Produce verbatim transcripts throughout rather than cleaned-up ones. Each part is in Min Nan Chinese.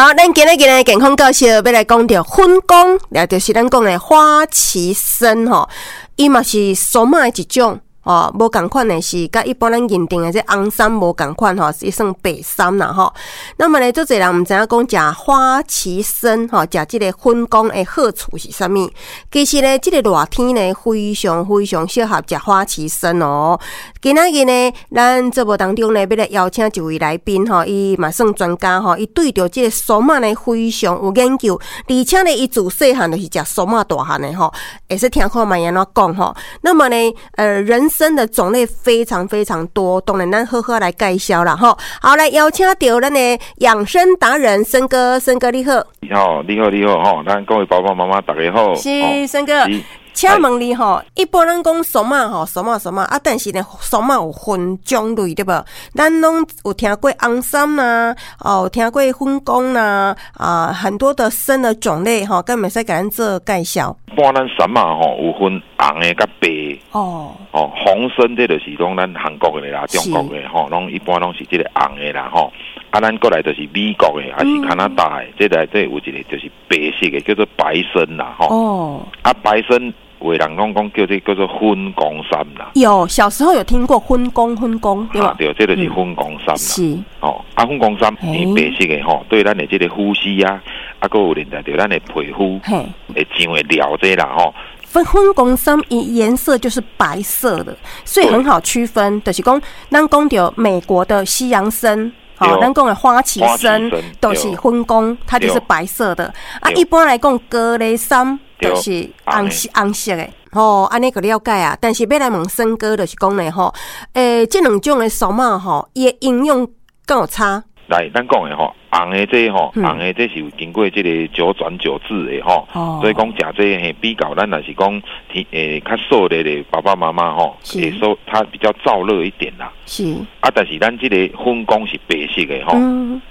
好，咱今日今日健康教室欲來講著粉公，也就是咱講的花旗參吼，伊嘛是桑仔的一種。哦，無仝款的是，佮一般咱認定的這紅參無仝款吼，是算白參啦吼。那麼呢，足濟人毋知影講食花旗參吼，食這个粉公的好處是啥物？其實呢，這个熱天呢，非常非常適合食花旗參哦。今仔日呢，咱節目當中呢，欲來邀請一位來賓吼，伊嘛算專家吼，伊對著這个桑仔呢非常有研究，而且呢，伊自細漢就是食桑仔大漢的吼，會使聽看覓按怎講吼。那麼呢，呃，人參的種類非常非常多，當然咱好好來介紹啦吼。好，來邀請著咱的養生達人森哥，森哥你好。你好，你好，你好，吼，咱各位爸爸媽媽大家好。是森哥，請問你吼，一般咱講桑仔吼，桑仔桑仔啊，但是呢，桑仔有分種類對無？咱攏有聽過紅參啦，哦，有聽過粉公啦，啊，很多的參的種類吼，敢會使共咱做介紹？一般咱參仔吼有分紅的佮白的。哦。哦，紅參這就是講咱韓國的啦，中國的吼，攏一般攏是這个紅的啦吼。啊，咱過來就是美國的，還是加拿大的，這內底有一个就是白色的，叫做白參啦吼。哦。啊，白參有的人攏講叫這叫做粉公參啦。有，小時候有聽過粉公粉公，對吧？對，這就是粉公參啦。是。哦，啊，粉公參伊白色的吼，對咱的這个呼吸啊，啊，閣有連帶著咱的皮膚會上的料這啦吼。粉粉公參伊顏色就是白色的，所以很好區分。就是講，咱講著美國的西洋參，吼，咱講的花旗參都是粉公，它就是白色的。啊，一般來講，高麗參就是紅色紅色的。吼，按呢就了解啊。但是欲來問森哥，就是講呢，吼，欸，這兩種的桑仔吼，伊的營養敢有差？來，咱講的吼，紅的這吼，紅的這是有經過這个九轉九製的吼，所以講食這嘿比較咱若是講天欸較燥熱的爸爸媽媽吼，會說它比較燥熱一點啦。是。啊，但是咱這个粉公是白色的吼，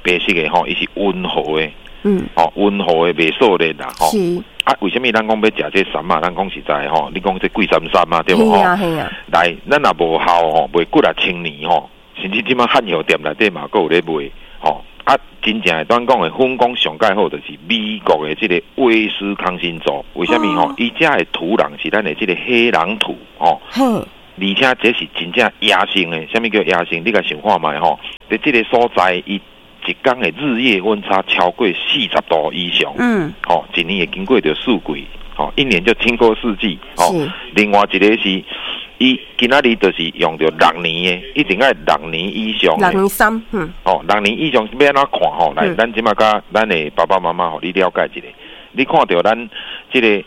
白色的吼，伊是溫和的，嗯，吼溫和的袂燥熱啦，吼。是。啊，為啥物咱講欲食這參仔？咱講實在吼，你講這貴參參啊，對無吼？係啊係啊。來，咱若無效吼，袂過來千年吼，甚至這擺漢藥店內底嘛，閣有咧賣。吼啊，真正的咱講的粉公上蓋好就是美國的這个威斯康星州，為啥物吼？伊遮的土壤是咱的這个黑壤土吼，而且這是真正野生的。啥物叫野生？你共想看覓吼？佇這个所在，伊一工的日夜溫差超過四十度以上，嗯，吼，一年會經過著四季，吼，一年就經過四季，吼。另外一个是，伊今仔日就是用著六年的，一定愛六年以上的。六年參，嗯。哦，六年以上欲按怎看吼？來，咱這擺共咱的爸爸媽媽，予你了解一下。你看著咱這个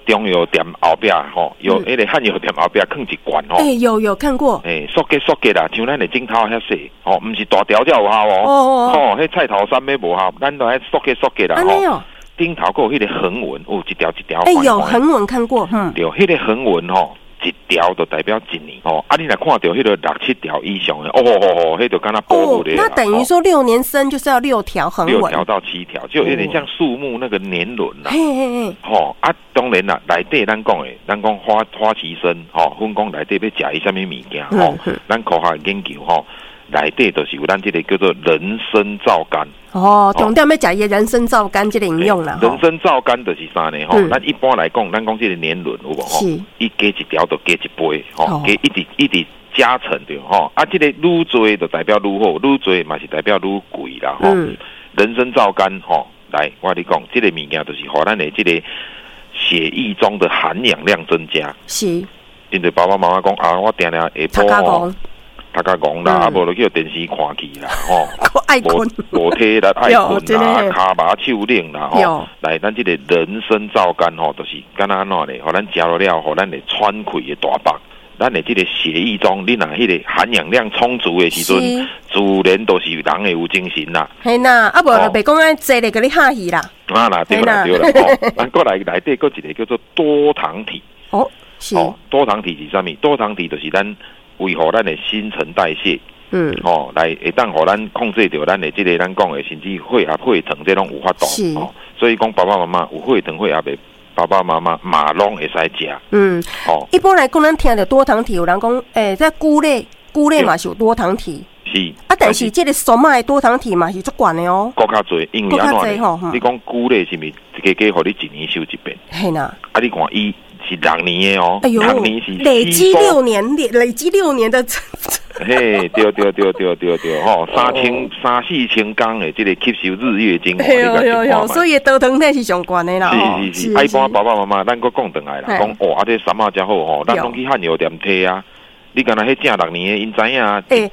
中藥店後壁吼，有彼个漢藥店後壁囥一罐吼。欸，有有看過。欸，縮結縮結啦，像咱的指頭遐細，吼，毋是大條才有效哦。哦哦。吼，彼菜頭參欲無效，咱都愛縮結縮結啦。吼。頂頭閣有彼个橫紋，有一條一條。欸，有橫紋看過，嗯。對，彼个橫紋吼。一條就代表一年哦，啊，你若看著彼个六七條以上的，哦哦哦，彼就敢若保護的。那等於說六年生就是要六條橫紋。六條到七條，就有點像樹木那個年輪啦。嘿嘿嘿。吼啊，當然啦，內底咱講的，咱講花花旗參，吼，粉公內底欲食伊啥物物件，吼，咱科學研究吼，內底就是有咱這个叫做人參皂苷。哦，重點欲食伊人參皂苷這个營養啦。人參皂苷就是啥呢？吼，咱一般來講，咱講這个年輪有無吼？伊加一條就加一倍，吼，加一直一直加成著吼。啊，這个愈濟就代表愈好，愈濟嘛是代表愈貴啦，吼。人參皂苷吼，來，我共你講，這个物件就是予咱的這个血液中的含氧量增加。是。因為爸爸媽媽講啊，我定定下晡吼。讀較戇啦，啊無就去予電視看去啦，吼，無無體力愛睏啦，跤麻手冷啦，吼，來，咱這个人參皂苷吼，就是敢若按怎咧？予咱食落了，予咱會喘氣會大幅。咱的這个血液中，你若彼个含氧量充足的時陣，自然都是人會有精神啦。嘿啦，啊無就袂講按坐咧共你嚇去啦。啊啦，對啦對啦，吼，咱閣來內底閣一个叫做多糖體。哦，是。哦，多糖體是啥物？多糖體就是咱維護咱的新陳代謝，嗯，吼，來會當予咱控制著咱的這个咱講的，甚至血壓、血糖這攏有法度，哦，所以講爸爸媽媽有血糖、血壓的爸爸媽媽嘛攏會使食。嗯，哦，一般來講，咱聽著多糖體，有人講，欸，這龜類，龜類嘛是有多糖體。是，是。啊，但是這个俗仔的多糖體嘛是足懸的哦。閣較濟，因為按怎呢？你講龜類是毋是加加予你一年收一遍？嘿啦。啊，你看伊是六年的哦，哎呦，六年是累積六年，累累積六年的。嘿，對對對對對對，吼，三千三四千工的這个吸收日月精華，對對，所以多糖體是上懸的啦。是是是，啊，一般爸爸媽媽，咱閣講轉來啦，講哦，啊，這參仔誠好吼，咱攏去漢藥店提啊。你敢若彼正六年的，𪜶知影。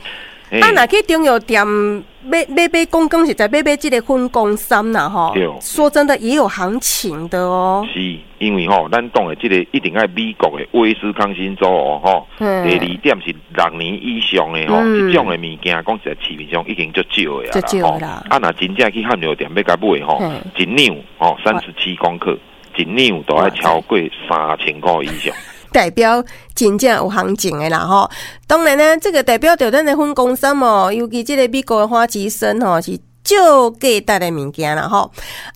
欸，啊，若去中藥店買買買，講講實在買買這个粉公參啦吼。說真的，也有行情的哦。是，因為吼，咱講的這个一定愛美國的威斯康星州哦，吼。第二點是六年以上的吼，這種的物件，講實在市面上已經足少的啊啦吼。啊，若真正去漢藥店欲共買吼，一兩吼三十七公克，一兩都愛超過三千箍以上。代表真正有行情的啦吼，當然呢，這个代表著咱的粉公參哦，尤其這个美國的花旗參吼是足價值的物件啦吼。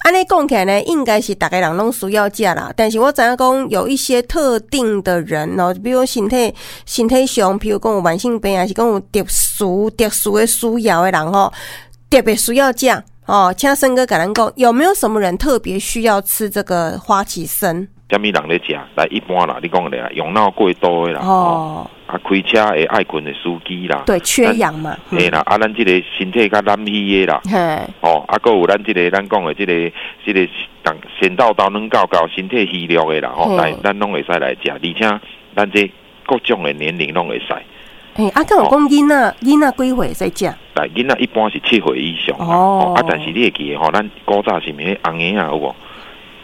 按呢講起來呢，應該是逐个人攏需要食啦。但是我知影講有一些特定的人哦，比如身體身體上，譬如講有慢性病，還是講有特殊特殊的需要的人吼，特別需要食哦。請森哥共咱講，有沒有什麼人特別需要吃這个花旗參？啥物人咧食？來一般啦，你講咧，用腦過度的啦，哦，啊，開車會愛睏的司機啦，對，缺氧嘛，嘿啦，啊，咱這个身體較懶虛的啦，嘿，哦，啊，閣有咱這个咱講的這个這个神叨叨軟厚厚，身體虛弱的啦，吼，來，咱攏會使來食，而且咱這各種的年齡攏會使。欸，啊，敢有講囡仔，囡仔幾歲會使食？來，囡仔一般是七歲以上，哦，啊，但是你會記得吼，咱古早是毋是紅嬰仔有無？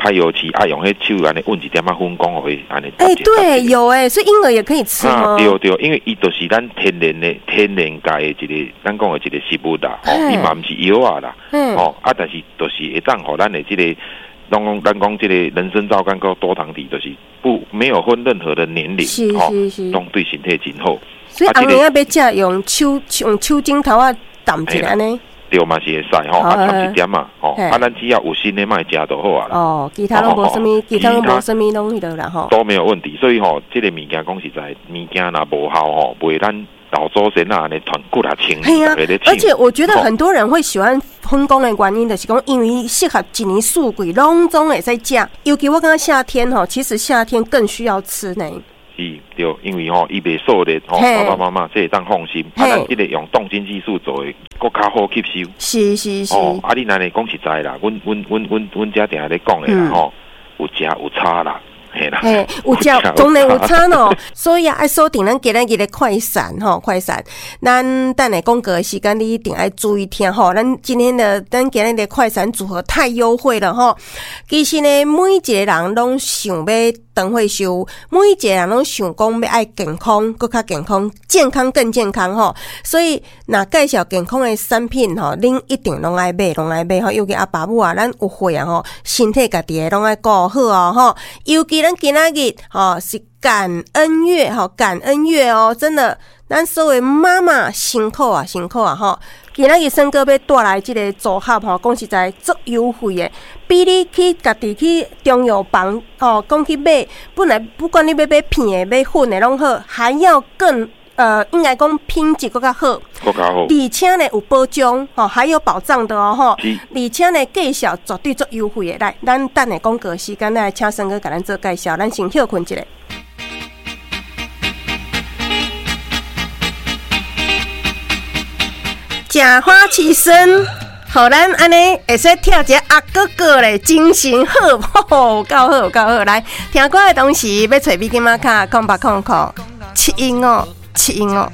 歹藥市愛用彼手按呢勻一點仔粉講予伊按呢。欸，對，有欸，所以嬰兒也可以吃嗎？對對，因為伊就是咱天然的、天然界的一個，咱講的一個食物啦，吼，伊嘛毋是藥仔啦，吼，啊，但是就是會當予咱的這個，攏講咱講這個人參皂苷閣多糖體，就是不沒有分任何的年齡，吼，攏對身體真好。所以紅嬰仔欲食，用手用手指頭仔澹一下按呢。對嘛是會使吼，啊摻一點仔吼，啊咱只要有心的莫食就好啊啦。哦，其他攏無啥物，其他攏無啥物攏彼落啦吼。都沒有問題，所以吼，這个物件講實在，物件若無效吼，袂咱老祖先啊按呢傳幾若千年，而且我覺得很多人會喜歡粉公的原因，就是講因為適合一年四季攏總會使食，尤其我感覺夏天吼，其實夏天更需要吃呢。是，對，因為吼，伊袂燥熱吼，爸爸媽媽這會當放心。啊，咱這个用凍晶技術做的，閣較好吸收。是是是。哦，啊，你按呢講實在啦，阮阮阮阮阮遮定定咧講的啦吼，有食有差啦。嘿啦，嘿，有食當然有差咯，所以啊，愛鎖定咱今仔日的快閃吼，快閃。咱等下廣告的時間，你一定愛注意聽吼。咱今天的咱今日的快閃組合太優惠了吼。其實呢，每一個人攏想欲長歲壽，每一個人攏想講欲愛健康，閣較健康，健康更健康吼。所以，若介紹健康的產品吼，恁一定攏愛買，攏愛買吼。尤其阿爸母啊，咱有歲啊吼，身體家己的攏愛顧好哦吼。尤其咱今仔日吼是感恩月吼，感恩月哦，真的，咱所有媽媽辛苦啊，辛苦啊吼。今仔日森哥欲帶來這个組合吼，講實在足優惠的，比你去家己去中藥房吼，講去買，本來不管你欲買片的、買粉的攏好，還要更呃，應該講品質閣較好，閣較好，而且呢有保障吼，還有保障的哦吼，而且呢介紹絕對足優惠的。來，咱等下廣告時間來請森哥共咱做介紹，咱先歇睏一下。食花旗參，予咱按呢會使跳一个阿哥哥咧，精神好，有夠好，有夠好。來聽歌的同時，欲揣美金仔卡空八空空七一五七一五。